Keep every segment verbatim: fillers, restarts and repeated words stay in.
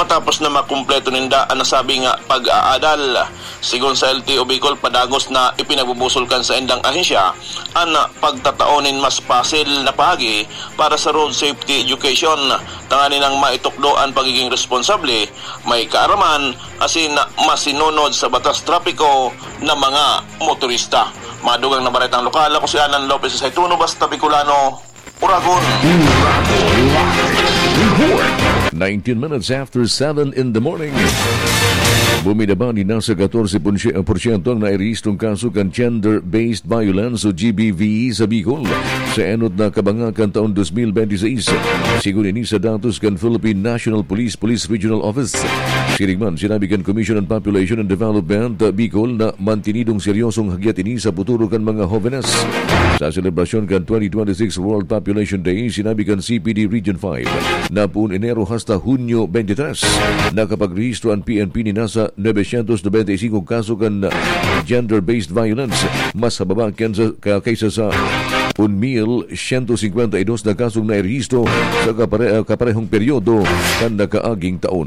Tapos na makumpleto ninda an nasabi nga pag-aadal. Sigon sa L T O Bicol, padagos na ipinagbubusol kan saindang ahensya an pagtatao nin mas pasil na paagi para sa road safety education, tanganing nang maitukdo an pagiging responsable, may kaaraman, asin masinunod sa batas trapiko na mga motorista. Madugang na baretang lokal, ako si Alan Lopez sa Saituno, Basta Bicolano, Uragon. Uragon Live Report. Nineteen minutes after seven in the morning. Bumaba nin nasa katorse porsyento ang nairehistrong kaso kan gender-based violence o G B V sa Bicol sa enot na kabangakan taon dos mil benti seis. Sigon ini sa datos kan Philippine National Police Police Regional Office. Siring man, sinabi kan Commission on Population and Development, Bicol, na mantinidong seryosong hagyat ini sa futuro kan mga hobenes. Sa selebrasyon kan twenty twenty-six World Population Day, sinabi kan C P D Region five na poon Enero hasta Hunyo twenty-three, nakapagrehistro an P N P nin nasa novecientos noventa y cinco kaso kan gender-based violence, mas hababa kaysa, kaysa sa un mil siyento singkwenta y dos na kasong nairehistro sa kapare-, kaparehong peryodo kan nakaaging taon.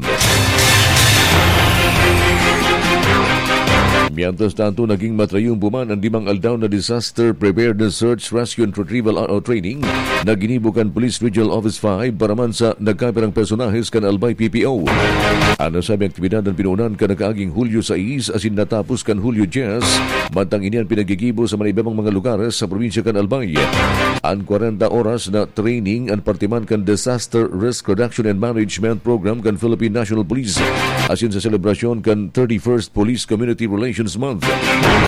Mientras tanto, naging matrayumpo man an limang aldaw na Disaster Preparedness Search, Rescue and Retrieval, o training na ginibo kan Police Regional Office five para man sa nagkapirang personahes kan Albay P P O. An nasabing aktibidad an pinoonan kan nakaaging Hulyo sais asin natapos kan Hulyo dyes, mantang ini an pinagigibo sa mga iba pang mga lugares sa probinsya kan Albay. An kwarenta oras na training an parte man kan Disaster Risk Reduction and Management Program kan Philippine National Police asin sa selebrasyon kan thirty-first Police Community Relations Month.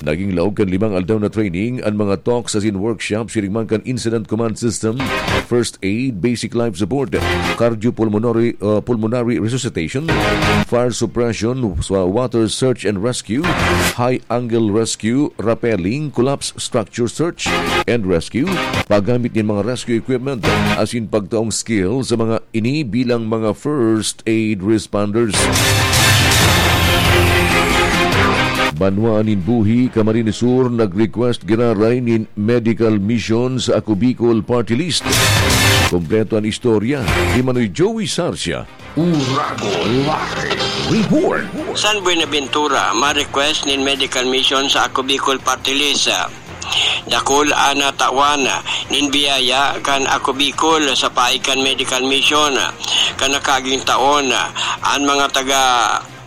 Naging laog kan limang aldaw na training an mga talks asin workshops siring man kan Incident Command System, First Aid, Basic Life Support, Cardiopulmonary, uh, Pulmonary Resuscitation, Fire Suppression, sa Water Search and Rescue, High Angle Rescue, Rappelling, Collapse Structure Search and Rescue, paggamit nin mga rescue equipment, asin pagtaong skill sa mga ini bilang mga first aid responders. Banwaan nin Buhi, Camarines Sur, nag-request giraray nin medical mission sa Ako Bicol Party List. Kompleto an istorya ni Manoy Joey Sarcia. Uragon Live Report. San Buenaventura, ma-request nin medical mission sa Ako Bicol Party List. Dakul an natawan nin biyaya kan Ako Bicol sa paagi kan medical mission kan nakaaging taon. An mga taga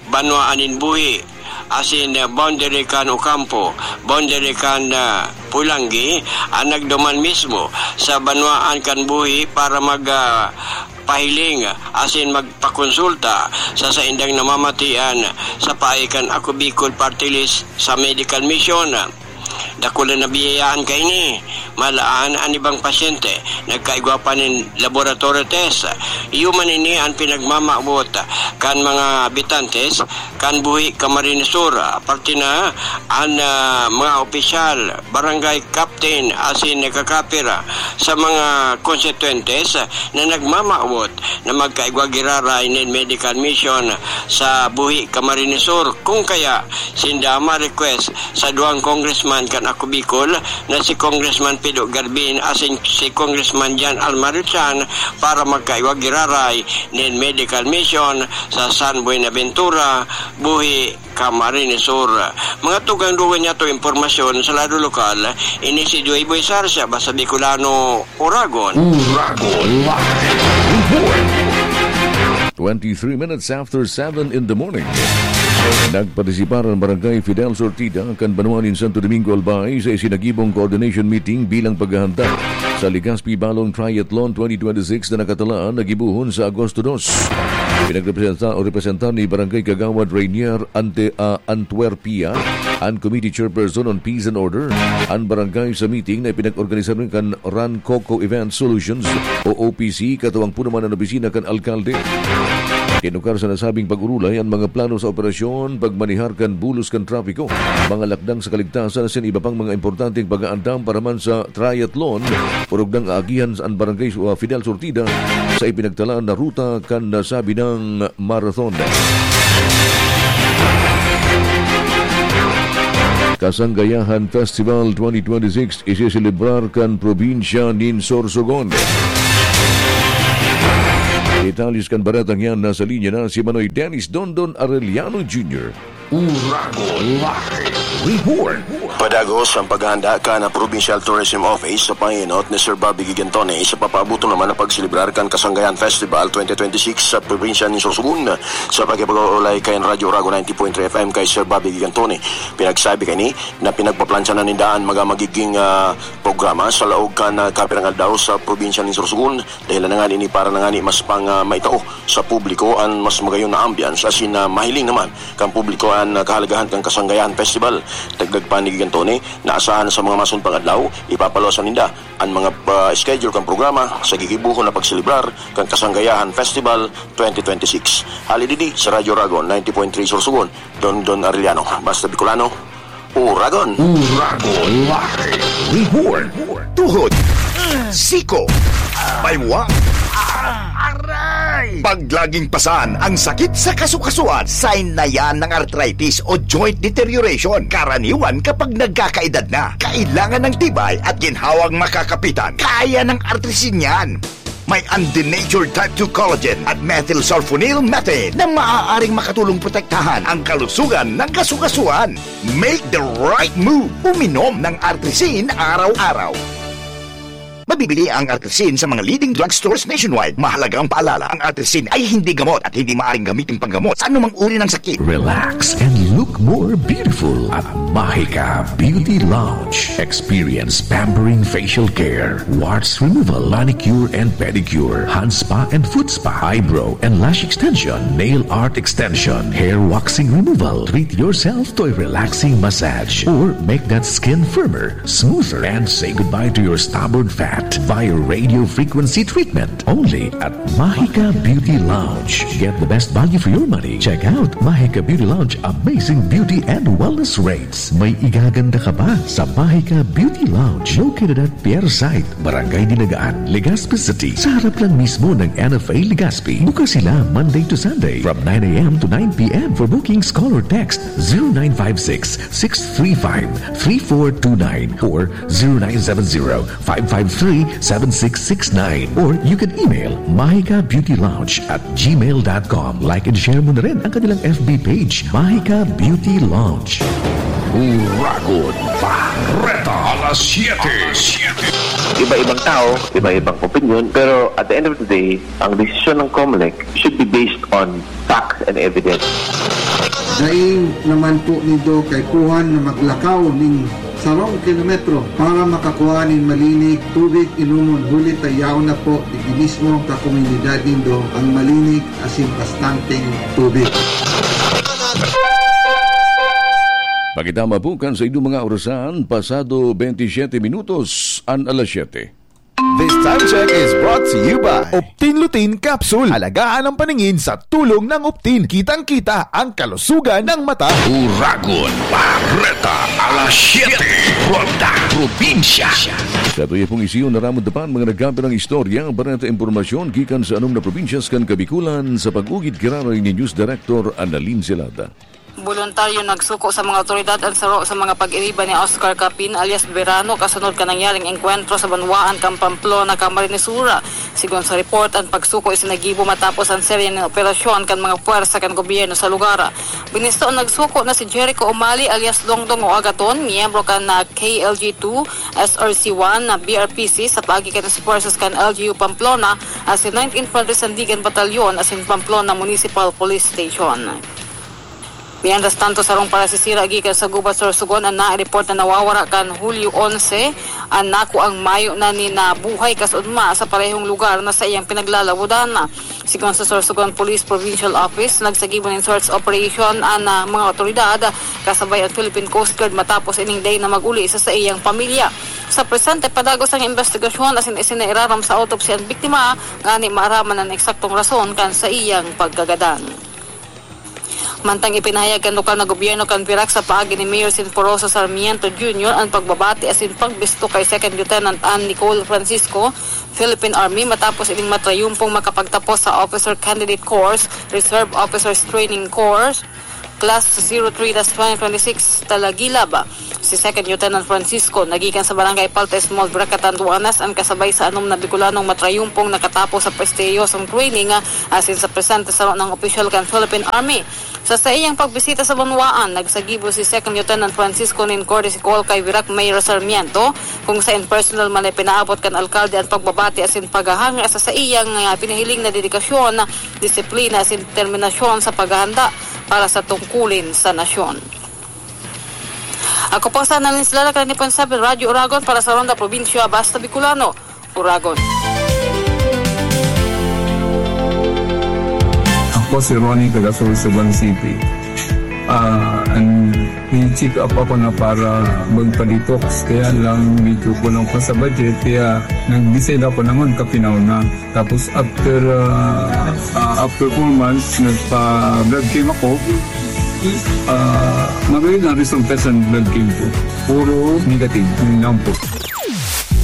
Banwaan nin Buhi, asin boundary kan Ocampo, boundary kan, ah, Polangui, an nagduman mismo sa banwaan kan Buhi para mag, ah, pahiling asin magpakonsulta sa saindang namamatian sa paagi kan Ako Bicol Party List sa medical mission. Dakul na nabiyayaan kaini. Malaan an ibang pasyente, nagkaigwa pa nin laboratory test. Iyo man ini an pinagmamawot kan mga habitantes kan Buhi, Camarines Sur, parte na an, ah, mga opisyal, barangay captain, asin nakakapira sa mga konstituyentes na nagmamawot na magkaigwa giraray nin medical mission sa Buhi, Camarines Sur. Kung kaya, sinda ma-request sa duwang congressman kan Ako Bicol na si Congressman Pido Garbin asin si Congressman Jan Almar Richan para magkaigwa giraray nin medical mission sa San Buenaventura, Buhi, Camarines Sur. Mga tugang-dugang niyato impormasyon sa lado lokal, ini si Joy Boy Sarsia, Basta Bicolano, Uragon. Uragon Live Report. Twenty-three minutes after seven in the morning. Nagpartisipar an Barangay Fidel Sortida kan banwa nin Santo Domingo, Albay, sa isinagibong coordination meeting bilang paghahanda sa Legazpi Balong Triathlon twenty twenty-six na nakatalaan na gibohon sa Agosto dos. Pinagrepresenta o representar ni Barangay Kagawad Rainier Ante-, ah, Antuerpia, an Committee Chairperson on Peace and Order, an barangay sa meeting na ipinag-organisa rin kan Ran Coco Event Solutions o O P C, katuwang po naman an opisina kan alkalde. Tinukar sa nasabing pag-urulay an mga plano sa operasyon, pagmanehar kan bulos kan trapiko, mga lakdang sa kaligtasan, asin iba pang mga importanteng pag-aandam para man sa triathlon, orog nang aagihan sa barangay, uh, Fidel Sortida sa ipinagtalaan na ruta kan nasabi nang marathon. Kasanggayahan Festival twenty twenty-six isiselebrar kan probinsya nin Sorsogon. Detalyes kan baretang yan, nasa linya na si Manoy Dennis Dondon Arellano Junior. Uragon Live Report. Padagos ang paghahanda kan Provincial Tourism Office sa pangenot ni Sir Bobby Gigantone sa papaaboton naman na pagselebrar kan Kasanggayan Festival twenty twenty-six sa probinsya nin Sorsogon. Sa pakipag-uulay kan Radyo Uragon ninety point three F M kay Sir Bobby Gigantone, pinagsabi kani na pinagpaplansya na ninda an mga magiging, ah, programa sa laog kan, ah, kapirang aldaw sa probinsya nin Sorsogon. Dahilan na ngani ini para na ngani mas pang, ah, maitao sa publiko an mas magayon na ambience asin, ah, mahiling naman kan publiko an, ah, kahalagahan kan Kasanggayahan Festival. Dagdag pa ni Gigantone na asahan sa mga masunod pang adlaw, ipapaluwas na ninda an mga, ah, schedule kan programa sa gigibohon na pagselebrar kan Kasanggayahan Festival twenty twenty-six. Hali digdi sa Radyo Uragon ninety point three Sorsogon, Dondon Arellano, Basta Bicolano, Uragon. Uragon Live Report. Tuhod. Siko. Baywa. Aray! Pag laging pasan ang sakit sa kasukasuan, sign na yan ng arthritis o joint deterioration. Karaniwan kapag nagkakaedad na. Kailangan ng tibay at ginhawang makakapitan. Kaya ng Artrisin yan. May undenatured type two collagen at methylsulfonyl methane na maaaring makatulong protektahan ang kalusugan ng kasukasuan. Make the right move. Uminom ng Artrisin araw-araw. Mabibili ang Artrisin sa mga leading drugstores nationwide. Mahalagang paalala, ang Artrisin ay hindi gamot at hindi maaaring gamitin panggamot sa anumang uri ng sakit. Relax and look more beautiful at Mahika Beauty Lounge. Experience pampering facial care, warts removal, manicure and pedicure, hand spa and foot spa, eyebrow and lash extension, nail art extension, hair waxing removal. Treat yourself to a relaxing massage or make that skin firmer, smoother, and say goodbye to your stubborn fat via radio frequency treatment. Only at Mahika Beauty Lounge. Get the best value for your money. Check out Mahika Beauty Lounge amazing beauty and wellness rates. May igaganda ka ba sa Mahika Beauty Lounge? Located at Pier Site, Barangay Dinagaan, Legazpi City. Sa harap lang mismo ng N F A Legazpi. Bukas sila Monday to Sunday from nine a m to nine p m. For bookings, call or text zero nine five six, six three five, three four two nine or zero nine seven zero, five five three, seven six six nine. Or you can email mahika beauty lounge at gmail dot com. Like and share mo na rin ang kanilang F B page, Mahika Beauty Lounge. Uragon Bareta, alas siyete. Iba-ibang tao, iba-ibang opinion, pero at the end of the day, ang desisyon ng Comelec should be based on facts and evidence. Dai naman po nindo kaipuhan na maglakaw nin sarong kilometro para makakua nin malinig tubig inomon, huli ta yaon na po digdi mismo sa komunidad nindo ang malinig asin bastanteng tubig. Pakitama po kan sa inyong mga orasan, pasado bentisiete minutos an alas siyete. This time check is brought to you by Optin Lutein Capsule. Alagaan ang paningin sa tulong ng Optin. Kitang-kita ang kalusugan ng mata. Uragon Bareta, alas siyete, Ronda Probinsya. Sa tuya pong isiyo na ramod dapan mga nagkapirang istorya, bareta, impormasyon gikan sa anom na probinsyas kan Kabikulan sa pag-ugid giraray ni News Director Annalyn Celada. Boluntaryo nagsuko sa mga awtoridad an saro sa mga pag-iriba ni Oscar Capin alias Verano kasunod kan nangyaring engkwentro sa banwaan kan Pamplona, Camarines Sur. Sigon sa report, an pagsuko isinagibo matapos an serye nin operasyon kan mga puwersa kan gobyerno sa lugar. Binisto an nagsuko na si Jericho Umali alias Dongdong o Agaton, miyembro kan, ah, K L G two, S R C one na B R P C sa paagi kan espuwersos kan L G U Pamplona asin nineteenth Padre Sandigan Batalyon asin Pamplona Municipal Police Station. Mientras tanto, sarong parasisira gikan sa gubat Sorsogon an naireport na nawawara kan Hulyo onse. An nakuang mayo na nin, ah, buhay kasunma sa parehong lugar na saiyang pinaglalawodan. Sigon sa Sorsogon Police Provincial Office, nagsagibo nin search operation an, ah, mga otoridad kasabay an Philippine Coast Guard matapos ining dai na mag-uli sa saiyang pamilya. Sa presente, padagos ang imbestigasyon asin isinairarom sa autopsy an biktima, ngani maaraman an eksaktong rason kan saiyang pagkagadan. Mantang ipinahayag kan lokal na gobyerno kan Virac sa paagi ni Mayor Sinforoso Sarmiento Junior an pagbabati asin pagbisto kay Second Lieutenant Ann Nicole Francisco, Philippine Army, matapos ining matrayumpong makapagtapos sa Officer Candidate Course, Reserve Officers Training Course, Class zero three dash twenty twenty-six Talagilab. Si Second Lieutenant Francisco, nagikan sa Barangay Palta Small, Virac, Catanduanes, an kasabay sa anom na Bicolanong matrayumpong nakatapos sa prestihiyosong training, ah, asin sa presente saro nang opisyal kan Philippine Army. Sa saiyang pagbisita sa banwaan, nagsagibo si Second Lieutenant Francisco nin courtesy call kay Virac Mayor Sarmiento, kung saen personal man na ipinaabot kan alkalde an pagbabati asin paghahanga sa saiyang, ah, pinahiling na dedikasyon, disiplina asin determinasyon sa paghahanda para sa tungkulin sa nasyon. Ako po sana nin sila, Lacrani Ponsabel, Radyo Oragon para sa Ronda Probinsya, Basta Bicolano, Oragon. Ako si Ronnie, taga Sorsogon City. Ah, an, i-check up ako na para magpa-detox, kaya lang medyo kulang pa sa budget, kaya nag-decide ako na magkapinaw na. Tapos after, ah, ah, after four months, nagpa-blood chem ako. Ah, magayon ang resulta sa blood chem ko. Puro negative, yun lang po.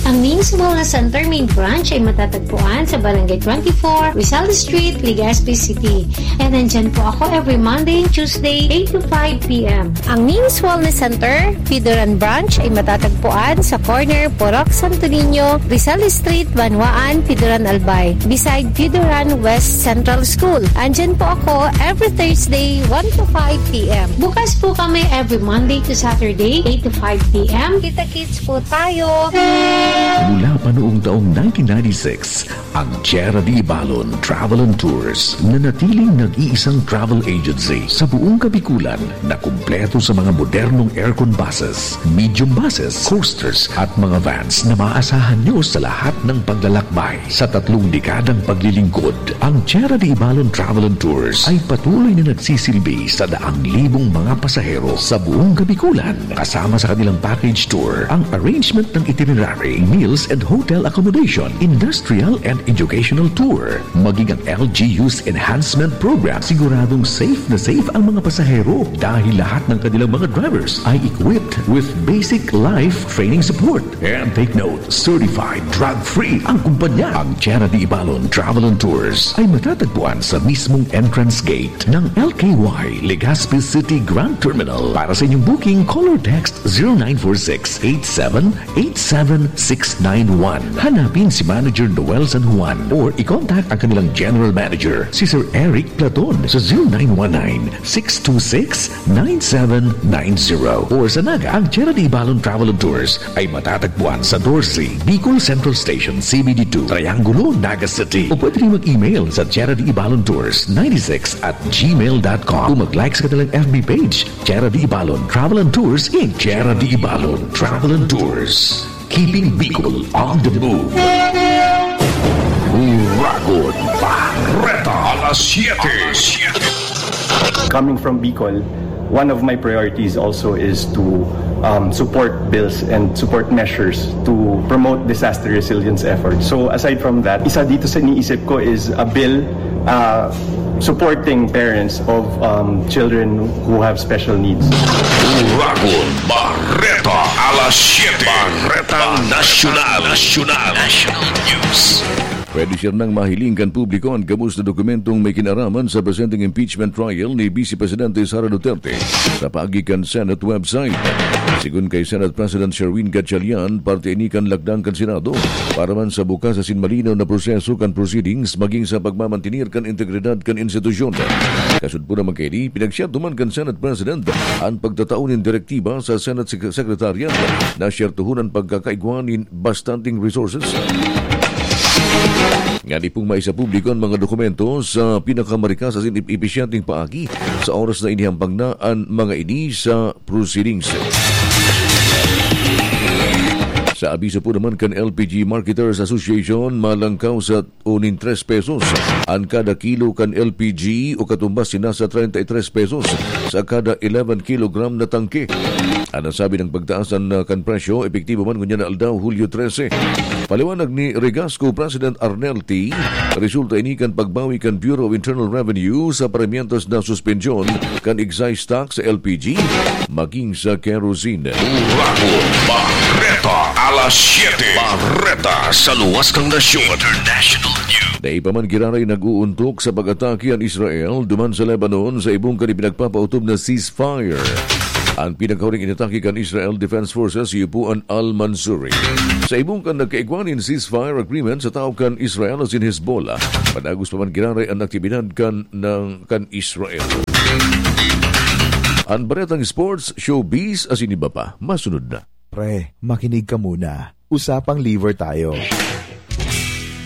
Ang Ming's Wellness Center main branch ay matatagpuan sa Barangay twenty-four, Rizal Street, Legazpi City. And nandyan po ako every Monday and Tuesday, eight to five p m. Ang Ming's Wellness Center, Pidoran Branch, ay matatagpuan sa corner Purok Santo Niño, Rizal Street, Banwaan, Pidoran, Albay, beside Pidoran West Central School. Andyan po ako every Thursday, one to five p m. Bukas po kami every Monday to Saturday, eight to five p m. Kita-kits po tayo. Mula pa noong taong nineteen ninety-six, ang Tierra de Ibalon Travel and Tours, nanatiling nag-iisang travel agency sa buong Kabikulan na kumpleto sa mga modernong aircon buses, medium buses, coasters at mga vans na maaasahan nyo sa lahat ng paglalakbay. Sa tatlong dekadang paglilingkod, ang Tierra de Ibalon Travel and Tours ay patuloy na nagsisilbi sa daang libong mga pasahero sa buong Kabikulan. Kasama sa kanilang package tour ang arrangement ng itinerary, meals and hotel accommodation, industrial and educational tour, maging ang L G U's enhancement program. Siguradong safe na safe ang mga pasahero dahil lahat ng kanilang mga drivers ay equipped with basic life training support. And take note, certified drug-free ang kumpanya. Ang Tierra de Ibalon Travel and Tours ay matatagpuan sa mismong entrance gate ng L K Y Legazpi City Grand Terminal. Para sa inyong booking, call or text zero nine four six eight seven eight seven six nine one. Hanapin si Manager Noel San Juan or i-contact ang kanilang General Manager, si Sir Eric Platon, sa zero nine one nine six two six nine seven nine zero. Or sa Naga, ang Tierra de Ibalon Travel and Tours ay matatagpuan sa Dorsey, Bicol Central Station, C B D two, Triangulo, Naga City. O pwede rin mag-email sa Tierra de Ibalon Tours ninety-six at gmail dot com. O mag-like sa kanilang F B page, Tierra de Ibalon Travel and Tours, Inc. Tierra de Ibalon Travel and Tours. Keeping Bicol on the move. Uragon Bareta, alas siyete. Coming from Bicol, one of my priorities also is to, um, support bills and support measures to promote disaster resilience efforts. So aside from that, isa dito sa iniisip ko is a bill, uh, supporting parents of, um, children who have special needs. Uragon Bareta, alas siyete. Bareta Nasyonal. Nasyonal. National News. Pwede siya nang mahiling kan publiko an gabos na dokumentong may kinaraman sa presenteng impeachment trial ni Vice Presidente Sara Duterte sa paagi kan Senate website. Sigon kay Senate President Sherwin Gatchalian, parte ini kan lakdang kan Senado para man sa bukas asin malinaw na proseso kan proceedings maging sa pagmamantener kan integridad kan institusyon. Kasud po naman kaini, pinagsiyado man kan Senate President an pagtatao nin direktiba sa Senate Sec-, Secretariat na siyertohon an pagkakaigwa nin bastanteng resources. Ngani pong maisapubliko an mga dokumento sa pinakamarikas asin ip-, episyenteng paagi sa oras na inihambang na an mga ini sa proceedings. Sa abiso po naman kan L P G Marketers Association, malangkaw sa unin tres pesos an kada kilo kan L P G o katumbas na nasa treinta y tres pesos sa kada eleven kilogram na tangke. An nasabi nang pagtaas an, ah, kan presyo, epektibo man ngunyan na aldaw, Hulyo trese. Paliwanag ni Regasco President Arnel T, resulta ini kan pagbawi kan Bureau of Internal Revenue sa paramientos na suspensyon kan excise tax sa L P G, maging sa kerosene. Uragon Bareta, alas Siete. Bareta sa luwas ng nasyon. International News. Dai pa man giraray nag-uuntok sa pag-atake an Israel duman sa Lebanon sa ibong kan ipinagpapautob na ceasefire. An pinakahuling inatake kan Israel Defense Forces iyo po an Al-Mansouri. Sa ibong kan nagkaigwa nin ceasefire agreement sa tahaw kan Israel asin Hezbollah, padagos pa man giraray an aktibidad kan, ng, kan Israel. An baretang sports, showbiz, asin iba pa, masunod na. Pre, makinig ka muna. Usapang liver tayo.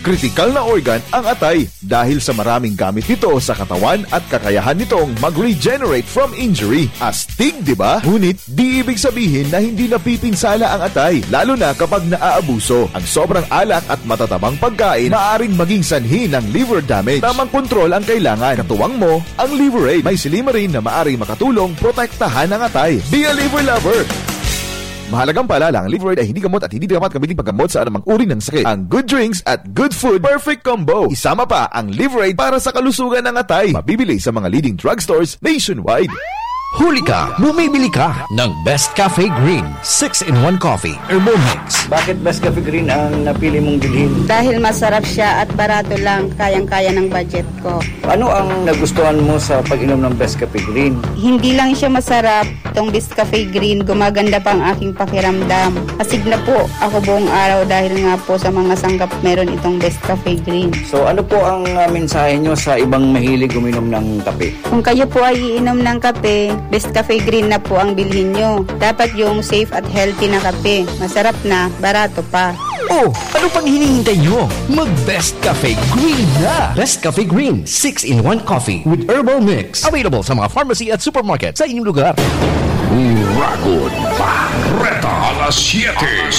Kritikal na organ ang atay dahil sa maraming gamit nito sa katawan at kakayahan nitong mag-regenerate from injury. Astig, di ba? Ngunit, di ibig sabihin na hindi napipinsala ang atay, lalo na kapag naaabuso. Ang sobrang alak at matatabang pagkain maaring maging sanhi ng liver damage. Tamang kontrol ang kailangan. Katuwang mo, ang Liver Aid. May silymarin na maaring makatulong protektahan ang atay. Be a liver lover! Mahalagang paalala, ang Liver Aid ay hindi gamot at hindi dapat gamitin paggamot sa anumang uri ng sakit. Ang good drinks at good food, perfect combo. Isama pa ang Liver Aid para sa kalusugan ng atay. Mabibili sa mga leading drugstores nationwide. Huli ka, bumibili ka ng Best Cafe Green six-in-one Coffee Herbal Mix. Bakit Best Cafe Green ang napili mong bilhin? Dahil masarap siya at barato lang, kayang-kaya ng budget ko. Ano ang nagustuhan mo sa pag-inom ng Best Cafe Green? Hindi lang siya masarap, itong Best Cafe Green, gumaganda pa ang aking pakiramdam. Astig na po ako buong araw dahil nga po sa mga sangkap meron itong Best Cafe Green. So, ano po ang, ah, mensahe nyo sa ibang mahilig uminom ng kape? Kung kayo po ay iinom ng kape, Best Cafe Green na po ang bilhin nyo. Dapat yung safe at healthy na kape. Masarap na, barato pa. Oh, ano pang hinihintay nyo? Mag Best Cafe Green na! Best Cafe Green, six-in-one Coffee with Herbal Mix. Available sa mga pharmacy at supermarket sa inyong lugar. Uragon Bareta, alas siyete.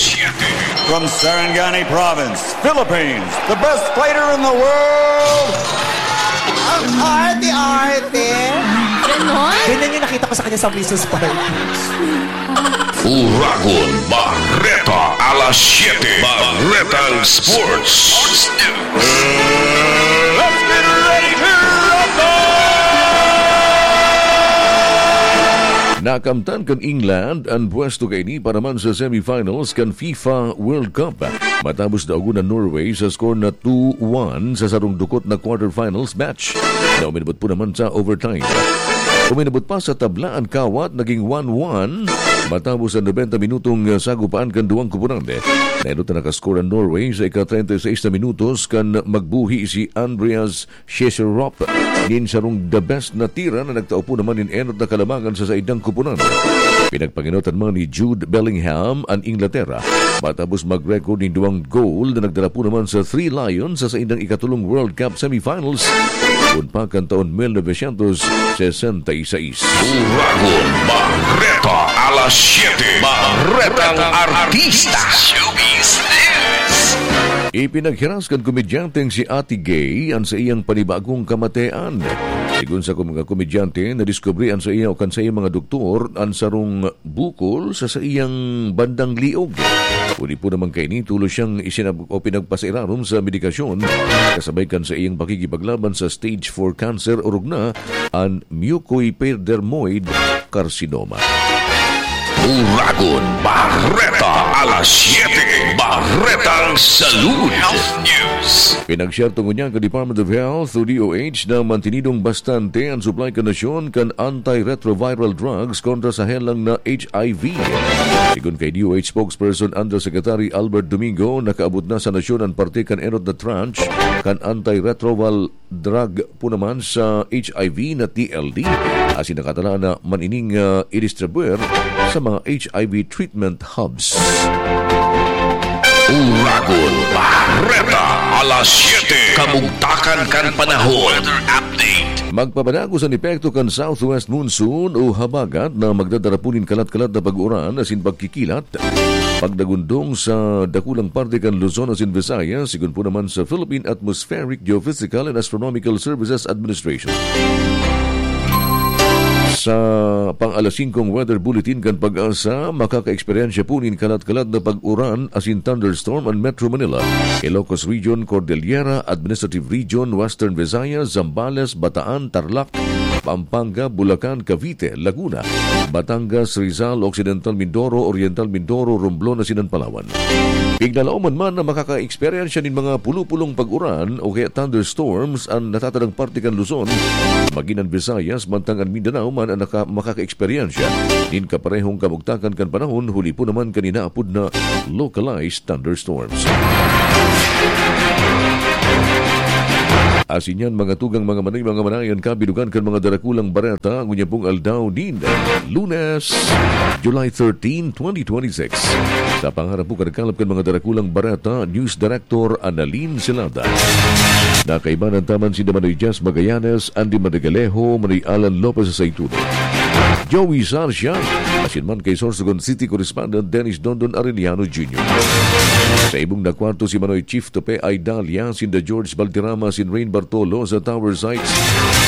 From Sarangani Province, Philippines, the best fighter in the world. Ang arte-arte. Ganon? Ganyan yung nakita ko sa kanya sa Missus Party. Uragon Bareta, alas siyete. Baretang Sports. Let's get ready to rumble! Nakamtan kan England an pwesto kaini para man sa semifinals kan FIFA World Cup. Matapos daogon an Norway sa score na two one sa sarong dukot na quarterfinals match na uminabot po naman sa overtime. Uminabot pa sa tabla an kawat, naging one one matapos an nobenta minutong sagupaan kan duwang koponan. Naenot na nakaskor an Norway sa ika-treinta y seis na minutos kan magbuhi si Andreas Sheserop nin sarong the best na tira na nagtao po naman nin enot na kalamangan sa saindang koponan. Pinagpangenotan man ni Jude Bellingham an Inglaterra matapos mag-record nin duwang goal na nagdara po naman sa Three Lions sa saindang ikatulong World Cup semifinals kun pa kan taon mil novecientos sesenta y seis. Uragon Bareta, alas siyete, Barretang Artista. Showbiz News. Ipinaghiras kan komedyanteng si Ate Gay an saiyang panibagong kamatean. Sigon sa mga komedyante, nadiskubre an saiya o kan saiyang mga doktor an sarong bukol sa saiyang bandang liog. Uli po naman kaini, tulos siyang isinab-, o pinagpasairarom sa medikasyon kasabay kan saiyang pakikipaglaban sa stage four cancer, orog na an mucoepidermoid carcinoma. Uragon Bareta, alas siyete, Barretang Salud. Health News. Pinagsyerto ngunyan kan Department of Health o D O H na mantinidong bastante an supply kan nasyon kan antiretroviral drugs kontra sa helang na H I V. Sigon kay D O H spokesperson Undersecretary Albert Domingo, nakaabot na sa nasyon an parte kan enot na tranche kan antiretroviral drug po naman sa H I V na T L D, asin nakatala na man ining, ah, idistribuer sa mga H I V treatment hubs. Uragon Bareta, alas siyete, kabugtakan kan panahon. Weather update. Magpapadagos an epekto kan southwest monsoon o habagat na magdadara po nin kalat-kalat na pag-uran asin pagkikilat, pagdagundong sa dakulang parte kan Luzon asin Visayas, sigon po naman sa Philippine Atmospheric, Geophysical and Astronomical Services Administration. Sa pang-alas singkong weather bulletin kan PAGASA, makaka-eksperyensya po nin kalat-kalat na pag-uran asin thunderstorm an Metro Manila, Ilocos Region, Cordillera, Administrative Region, Western Visayas, Zambales, Bataan, Tarlac, Pampanga, Bulacan, Cavite, Laguna, Batangas, Rizal, Occidental Mindoro, Oriental Mindoro, Romblon asin an Palawan. Piglalaoman man na makaka-eksperyensya nin mga pulo-pulong pag-uran o kaya thunderstorms an natatadang parte kan Luzon, magin an Visayas, mantang an Mindanao man an naka-, makaka-eksperyensya nin kaparehong kabugtakan kan panahon, huli po naman kan inaapod na localized thunderstorms. Asin yan, mga tugang, mga manoy, mga manay, an kabilugan kan mga darakulang bareta, ngunyan pong aldaw nin Lunes, July thirteen, twenty twenty-six. Sa pangarap po, kanakalap kan mga darakulang bareta, News Director Annalyn Celada. Nakaibanan taman si Manoy Jazz Magallanes, Andy Madagalejo, Manoy Alan Lopez sa Saitudo. Joey Sarcia, asin man kay Sorsogon City Correspondent Dennis Dondon Arellano Junior. Sa ibong na kwarto si Manoy Chief Tope Aidalia, sinda George Valderrama, sin Rain Bartolo sa Tower Sites.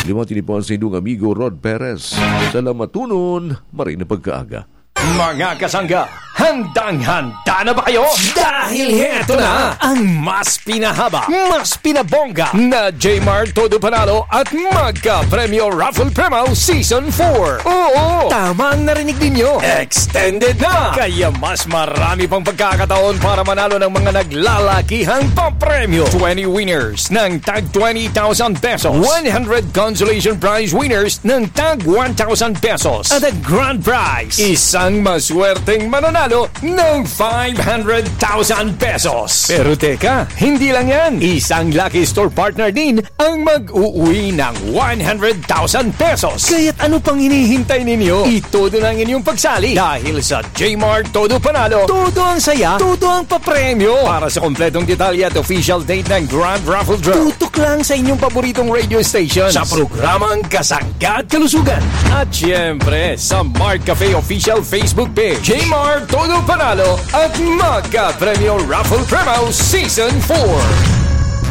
Liwati ni po ang sa inyong amigo Rod Perez. Salamatunon, maray na pagkaaga. Mga kasangga, handang-handa na ba kayo? Dahil heto na ang mas pinahaba, mas pinabongga na Jmar Todo Panalo at Magka Premyo Raffle Premaw Season four. Oo, tama ang narinig ninyo. Extended na! Kaya mas marami pang pagkakataon para manalo ng mga naglalakihang papremyo. Twenty winners ng tag twenty thousand pesos. One hundred consolation prize winners ng tag one thousand pesos. At ang grand prize, isang maswerteng mananalo ng five hundred thousand pesos. Pero teka, hindi lang yan. Isang lucky store partner din ang mag-uwi ng one hundred thousand pesos. Kaya't ano pang hinihintay ninyo? Itodo na ang inyong pagsali dahil sa Jmar Todo Panalo, todo ang saya, todo ang papremyo. Para sa kompletong detalye at official date ng Grand Raffle Draw, tutok lang sa inyong paboritong radio station sa programang Kasangga at Kalusugan. At siyempre, sa Mark Cafe Official Facebook Page, Jmar Todo Panalo at Magka Premyo Raffle Premaw Season four.